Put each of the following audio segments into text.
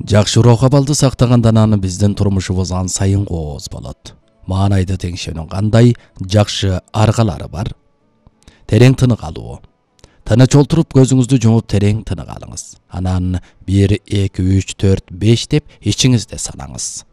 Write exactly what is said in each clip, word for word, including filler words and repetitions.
Жакшы рухабалды сактагандан аны биздин турмушубуз ан сайын кооз болот. Маанайды теңшөөнүн кандай жакшы аргалары бар? Терең тынык алуу. Тыныч олтуруп көзүңүздү жумуп терең тынык алыңыз. Анан бир, эки, үч, төрт, беш деп ичиңизде санаңыз.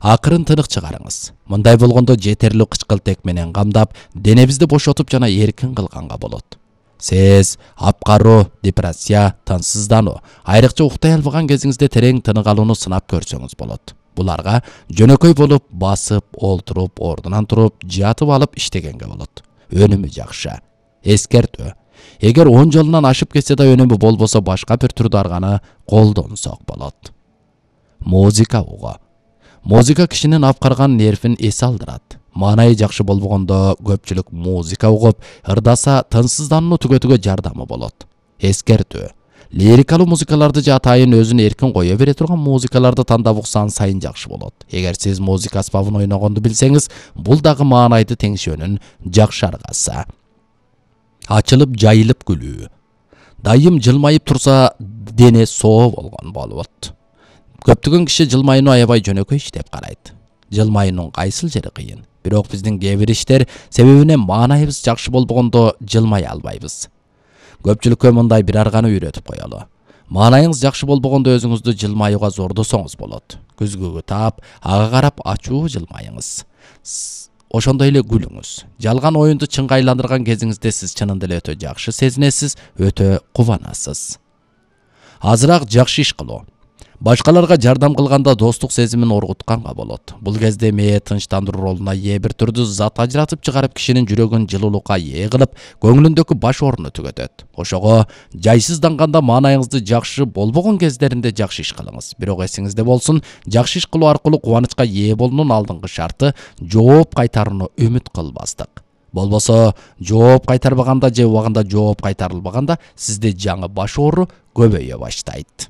Акырын тынык чыгарыңыз. Мындай болгондо жетерлик кычкылтек менен камдап, денебизди бошотуп жана эркин кылганга болот. Сез апкаруу, депрессия, тынчсыздануу, айрыкча уктай албаган кезиңизде терең тынык алууну сынап көрсөңүз болот. Буларга жөнөкөй болуп басып, олтуруп, ордунан туруп, жатып алып иштегенге болот. Өнүмү жакшы. Эскертүү. Эгер он жолунан ашып кетсе да өнүмү болбосо башка бир түрдө арганы колдонсок болот. Музыка угуу. Музыка кишинин апкарган нервин эс алдырат. Маанайы жакшы болбогондо көпчүлүк музыка угуп, ырдаса тынчсызданууну түгөтүүгө жардамы болот. Эскертүү. Лирикалуу музыкаларды же атайын өзүн эркин кое бере турган музыкаларды тандап уксаң сайын жакшы болот. Эгер сиз музыка аспабын ойногонду билсеңиз, бул дагы маанайды теңшөөнүн жакшы аргасы. Ачылып жайылып күлүү. Дайым жылмайып турса, дене соо болгон болот. Көптөгөн киши жылмайууну аябай жөнөкөй иш деп карайт. Жылмайуунун кайсыл жери кыйын? Бирок биздин кээ бир иштер себебинен маанайыбыз жакшы болбогондо жылмай албайбыз. Көпчүлүккө мындай бир арганы үйрөтүп коелу. Маанайыңыз жакшы болбогондо өзүңүздү жылмаюуга зордосоңуз болот. Күзгүгү таап, ага карап ачуу жылмайыңыз. Ошондой эле күлүңүз. Жалган оюнду чынга айландырган кезиңизде сиз чынында эле өтө жакшы сезинесиз, өтө кубанасыз. Азыраак жакшы иш кылуу. Башкаларга жардам кылганда достук сезимин оргутканга болот. Бул кезде мээ тынчтандыруу ролуна ээ бир түрдүү зат ажыратып чыгарып кишинин жүрөгүн жылуулукка ээ кылып, көңүлүндөгү баш орунду түгөтөт. Ошого жайсызданганда маанайыңызды жакшы болбогон кездеринде жакшы иш кылыңыз. Бирок эсиңизде болсун, жакшы иш кылуу аркылуу кубанычка ээ болуунун алдыңкы шарты жооп кайтарууну үмүт кылбастык. Болбосо, жооп кайтарбаганда же убагында жооп кайтарылбаганда сизде жаңы баш оору көбөйө баштайт.